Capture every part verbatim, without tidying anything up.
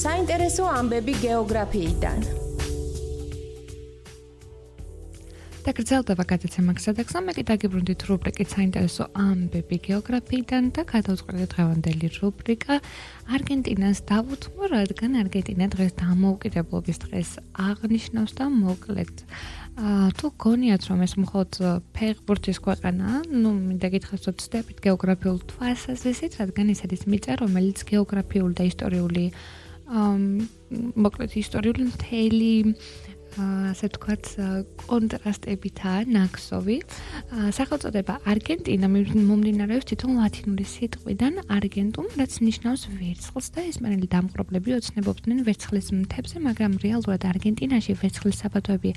საინტერესო ამბები გეოგრაფიიდან. დაგრძელდება გადაცემა გზადაგზა, მე კი დაგიბრუნდით რუბრიკით საინტერესო ამბები გეოგრაფიიდან და გადავწყვეტეთ დღევანდელი რუბრიკა არგენტინას დავუთმო, რადგან არგენტინა დღეს დამოუკიდებლობის დღეს აღნიშნავს და მოკლედ თუ გონიათ რომ ეს მხოლოდ ფეხბურთის ქვეყანაა, ნუ მინდა გითხრათ ვცდებით გეოგრაფიულ თვალსაზრისით, რადგან ეს არის მიწა, რომელიც გეოგრაფიული და ისტორიული მოკლედ ისტორიული მთელი ასე ვთქვათ, კონტრასტებითაა ნაქსოვი. სახელწოდება არგენტინა მომდინარეობს თვითონ ლათინური სიტყვიდან არგენტუმ, რაც ნიშნავს ვერცხლს და ესპანელი დამპყრობლები ოცნებობდნენ ვერცხლის მთებზე, მაგრამ რეალურად არგენტინაში ვერცხლის საბადოები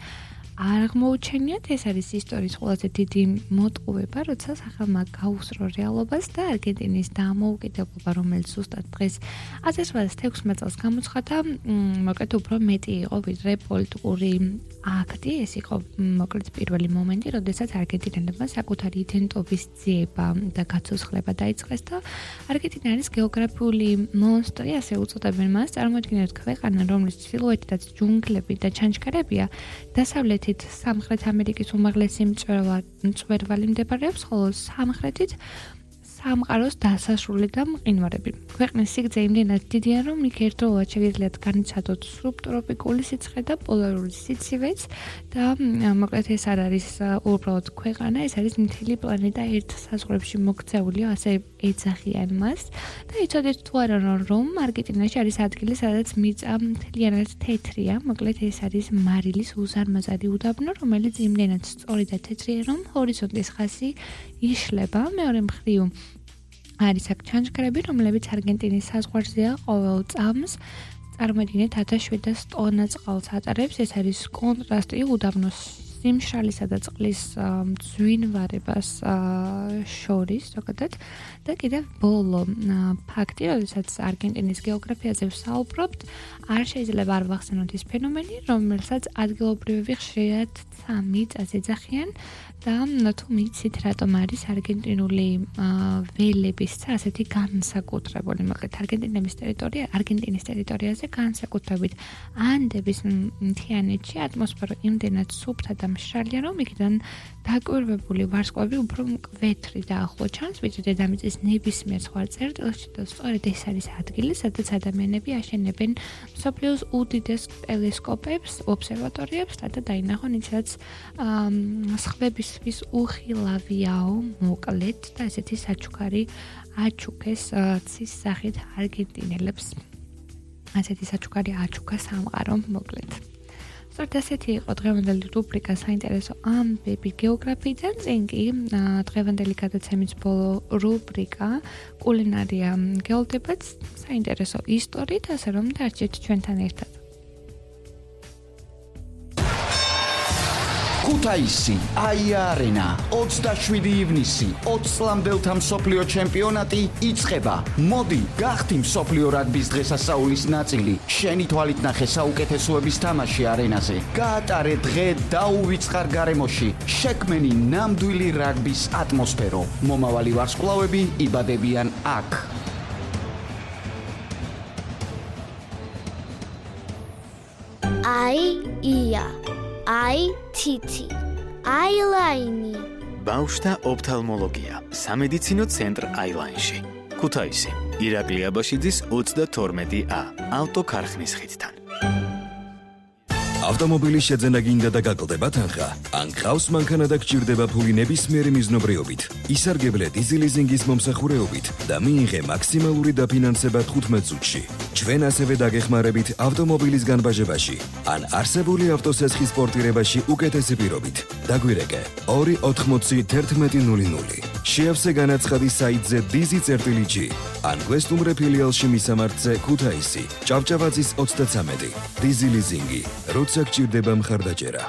არ აღმოუჩენიათ. ეს არის ისტორიის ყველაზე დიდი მოტყუება, როცა სახელმა გაუსწრო რეალობას და არგენტინის დამოუკიდებლობა, რომელიც ზუსტად დღეს ათას ოცდაათი წელს გამოცხადა, მოკლედ უფრო მეტი იყო ვიდრე პოლიტიკური აქტი. ეს იყო მოკლედ პირველი მომენტი, როდესაც არგენტინელებმა საკუთარი იდენტობის ძიება და გაცოცხლება დაიწყეს და არგენტინა არის გეოგრაფიული მონსტრი, ასე უწოდებენ მას. წარმოიდგინეთ ქვეყანა, რომლის ჩრდილოეთითაც ჯუნგლები და ჩანჩქერებია, დასავლეთით სამხრეთ ამერიკის უმაღლესი მწვერვალი მდებარეობს, ხოლო სამხრეთით სამყაროს დასასრული და მყინვარები. ქვეყნის სიგრძე იმდენად დიდია, რომ იქ ერთდროულად შეგიძლიათ განიცადოთ სუბტროპიკული სიცხე და პოლარული სიცივეც და მოკლედ ეს არ არის უბრალოდ ქვეყანა, ეს არის მთელი პლანეტა ერთ საზღვრებში მოქცეული, ასე ეძახიან მას. და იცოდეთ თუ არა, რომ არგენტინაში არის ადგილი, სადაც მიწა მთლიანად თეთრია, მოკლედ ეს არის მარილის უზარმაზარი უდაბნო, რომელიც იმდენად სწორი და თეთრია, რომ ჰორიზონტის ხაზი იშლება. მეორე მხრივ არის აქ ჩანჩქერები, რომლებიც არგენტინის საზღვარზეა ყოველ წამს. წარმოიდგინეთ ათას შვიდას ტონა წყალს ატარებს. ეს არის კონტრასტი უდაბნოს სიმშრალისა და წყლის მძვინვარებას შორის, ზოგადად. და კიდევ ბოლო ფაქტი, როდესაც არგენტინის გეოგრაფიაზე ვსაუბრობთ, არ შეიძლება არ ვახსენოთ ის ფენომენი, რომელსაც ადგილობრივები ხშირად მიწას ეძახიან და თუ მიცით რატომ არის არგენტინული ველების ასეთი განსაკუთრებული, მოკლედ არგენტინების ტერიტორია, არგენტინის ტერიტორიაზე განსაკუთრებით ანდების მთიანეთში ატმოსფერო იმდენად სუფთა და მშრალია, რომ იქიდან დაკვირვებული ვარსკვლავები უფრო მკვეთრი და ახლო ჩანს, ვიდრე დედამიწის ნებისმიერ სხვა წერტილში და სწორედ ეს არის ადგილი, სადაც ადამიანები აშენებენ მსოფლიოს უდიდეს ტელესკოპებს, ობსერვატორიებს, რათა დაინახონ ის, რაც სხვებისთვის უხილავიაო, მოკლედ და ესეთი საჩუქარი აჩუქეს ცის სახით არგენტინელებს. ასეთი საჩუქარი აჩუქა სამყარო, მოკლედ. სწორედ ასეთი იყო დღევანდელი რუბრიკა საინტერესო ამბები გეოგრაფიიდან, წინ კი დღევანდელი გადაცემის ბოლო რუბრიკა კულინარია გეოლდებათ საინტერესო ისტორიით, ასე რომ დარჩეთ ჩვენთან ერთად. ქუთაისი, აია არენა, ოცდაშვიდი ივნისი, ოცი წლამდელთა მსოფლიო ჩემპიონატი იწყება. მოდი, გახდი მსოფლიო რაგბის დღესასწაულის ნაწილი. შენი თვალით ნახე საუკეთესოების თამაში არენაზე. გაატარე დღე დაუვიწყარ გარემოში. შექმენი ნამდვილი რაგბის ატმოსფერო. მომავალი ვარსკვლავები იბადებიან აქ. აი ია აი თითი, აილაინი. ბავშვთა ოფთალმოლოგია, სამედიცინო ცენტრ აილაინში. ქუთაისი, ირაკლი აბაშიძის ოცდათორმეტი ა, ავტოქარხნის ხიდთან. ავტომობილის შეძენა გინდა და გაკლდება თანხა? ან გყავს მანქანა და გჭირდება ფული ნებისმიერი მიზნობრიობით, ისარგებლე დიზელიზინგის მომსახურეობით და მიიღე მაქსიმალური დაფინანსება თხუთმეტ წუთში. ჩვენ ასევე დაგეხმარებით ავტომობილის განბაჟებაში ან არსებული ავტოსესხის პორტირებაში უკეთესი პირობით. დაგვირეკე ორი ოთხმოცი თერთმეტი ნული ნული. შეავსე განაცხადი საიტზე დიზი წერტილი ჯი ან გვესტუმრე ფილიალში მისამართზე ქუთაისი, ჭავჭავაძის ოცდათვრამეტი. დიზი ლიზინგი, როცა გჭირდება მხარდაჭერა.